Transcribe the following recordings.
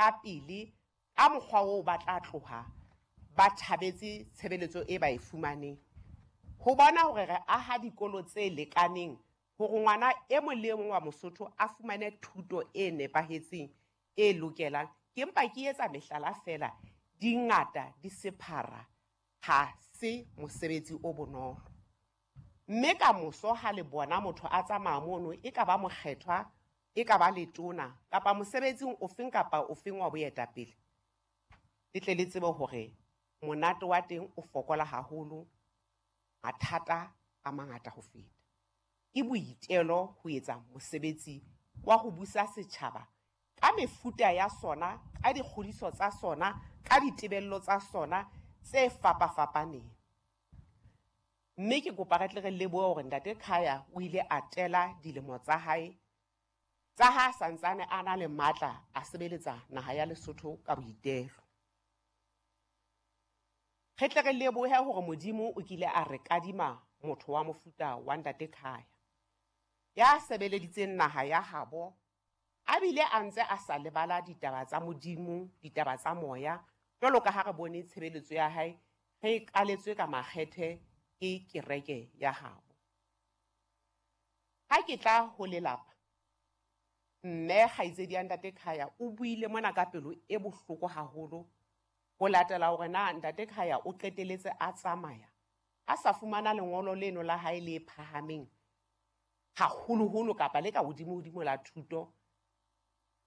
ka pele ka mokgwa oo ba tla tloha ba thabetse tshebeletso e ba e fumaneng. Ho bona hore re aha dikolo tse lekaneng hore ngwana e mong le e mong wa Mosotho a fumane thuto e nepahetseng e lokelang. Ke mpa ke etsa mehlala feela, di ngata di sephara, ha se mosebetsi o bonolo. Mme ka moso ha le bona motho a tsamaya mono, e ka ba mokgethwa, e ka ba letona, kapa mosebetsing ofeng kapa ofeng wa boetapele, le tle le tsebe hore monate wa teng o fokola haholo, mathata a mangata ho feta. Ke boitelo ho etsa mosebetsi wa ho busa setjhaba ka mefuta ya sona, ka dikgodiso tsa sona, ka ditebello tsa sona tse fapafapaneng. Mme ke kopa re tle re lebohe hore Ntate Khaya o ile a tela dilemo tsa hae tsa ha santsane a na le matla a sebeletsa naha ya Lesotho ka boitelo. Re tle re lebohe hore Modimo o kile a re kadima motho wa mofuta wa Ntate Khaya ya sebeleditseng naha ya habo, a bile a ntse a sa lebala ditaba tsa Modimo, ditaba tsa moya, jwalo ka ha re bone tshebeletso ya hae re e kaletswe ka makgethe ke kereke ya habo. Ha ke tla ho lelapa, mme kgaitsedi ya Ntate Khaya o buile mona ka pelo e bohloko haholo ho latela hore na Ntate Khaya o qeteletse a tsamaya a sa fumana lengolo leno la hae le phahameng haholoholo kapa le ka hodimo-hodimo la thuto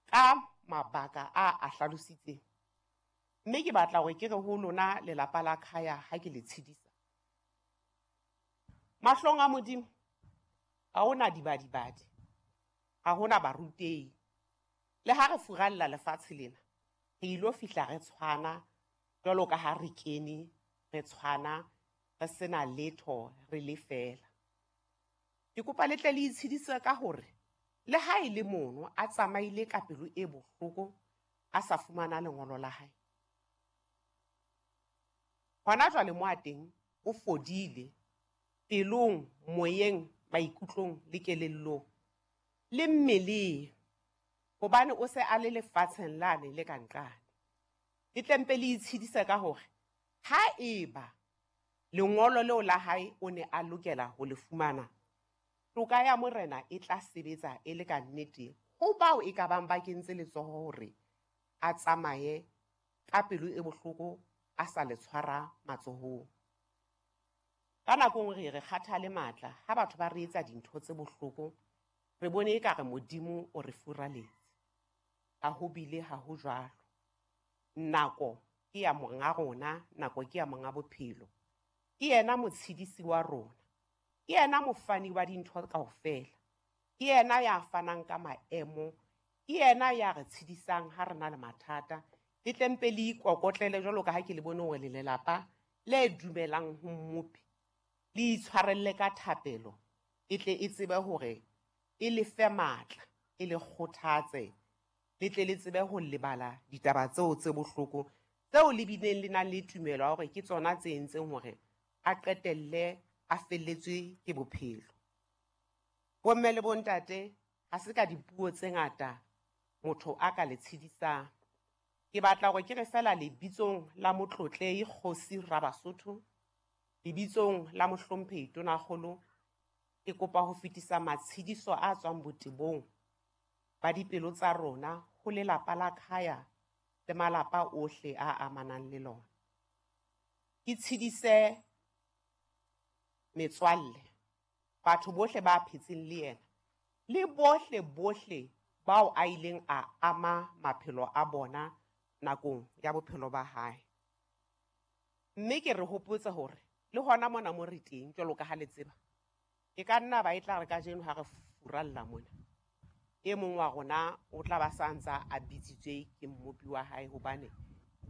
ka mabaka a a hlalositseng. Mme ke batla hore ke re ho lona lelapa la Khaya ha ke le tshedisa. Mahlong a Modimo ha hona dibadibadi, ha hona barutehi. Le ha re furalla lefatshe lena, re ilo fihla re tshwana jwalo ka ha re kene, re tshwana, re sena letho, re le feela. Ke kopa le tle le itshedise ka hore le ha e le mono a tsamaile ka pelo e bohloko a sa fumana lengolo la hae. Hona jwale mo a teng o fodile pelong, moyeng, maikutlong le kelellong le mmeleng, hobane o se a le lefatsheng lane le ka nqane. Le tle mpe le itshedise ka hore ha eba lengolo leo la hae o ne a lokela ho le fumana, toka ya Morena e tla sebetsa e le ka nnete ho bao e ka bang ba kentse letsoho hore a tsamaye ka pelo e bohloko a sa le tshwara matsohong. Ka nako nngwe re kgathale matla ha batho ba re etsa dintho tse bohloko, re bone ekare Modimo o re furaletse. Ha ho bile ha ho jwalo. Nako ke ya monga rona, nako ke ya monga bophelo. Ke yena motshedisi wa rona, ke yena mofani wa dintho kaofela, ke yena ya fanang ka maemo, ke yena ya re tshedisang ha re na le mathata. Le tle mpe le ikokotlele jwalo ka ha ke le bone hore le lelapa le dumelang ho Mmopi, le itshwarelle ka thapelo, e tle e tsebe hore e le fe matla, e le kgothatse, le tle le tsebe ho lebala ditaba tseo tse bohloko tseo le bileng le nang le tumelo ya hore ke tsona tse entseng hore a qetelle a felletswe ke bophelo. Bomme le bontate, ha se ka dipuo tse ngata motho a ka le tshedisang. Ke batla hore ke re feela lebitsong la Motlotlehi Kgosi Rabasotho, lebitsong la Mohlomphehi Tonakgolo, ke kopa ho fetisa matshediso a tswang botebong ba dipelo tsa rona ho lelapa la Khaya le malapa ohle a amanang le lona. Ke tshedise metswalle, batho bohle ba phetseng le yena, le bohle bohle bao a ileng a ama maphelo a bona nakong ya bophelo ba hae. Mme ke re hopotse hore le hona mona mo re teng jwalo ka ha le tseba, e ka nna ba e tla re kajeno ha re furalla mona, e mong wa rona o tla ba sa ntsa a bitsitswe ke mmopi wa hae, hobane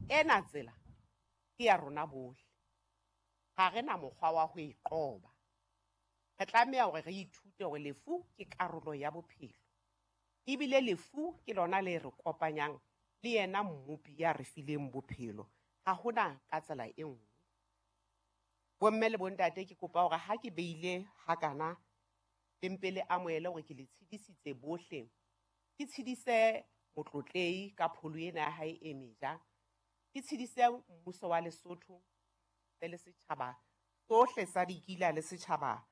ena tsela ke ya rona bohle. Ha re na mokgwa wa ho e qoba. Re tlameha hore re ithute hore lefu ke karolo ya bophelo, ebile lefu ke lona le re kopanyang le yena mmopi ya re fileng bophelo. Ha hona ka tsela e nngwe. Bomme le bontate, ke kopa hore ha ke beile hakana, le mpe le amohele hore ke le tshedisitse bohle. Ke tshedise Motlotlehi ka pholo ena ya hae e meja. Ke tshedise mmuso wa Lesotho le setjhaba sohle sa Dikila le setjhaba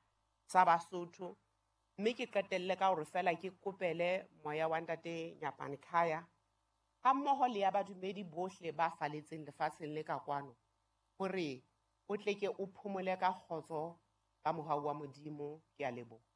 sa Basotho. Mme ke qetelle ka hore feela ke kopele moya wa ntate Nyapane Khaya ha mmoho le ya badumedi bohle ba faletseng lefatsheng le ka kwano, hore o tle ke o phomole ka kgotso ka mohau wa Modimo. Ke a leboha.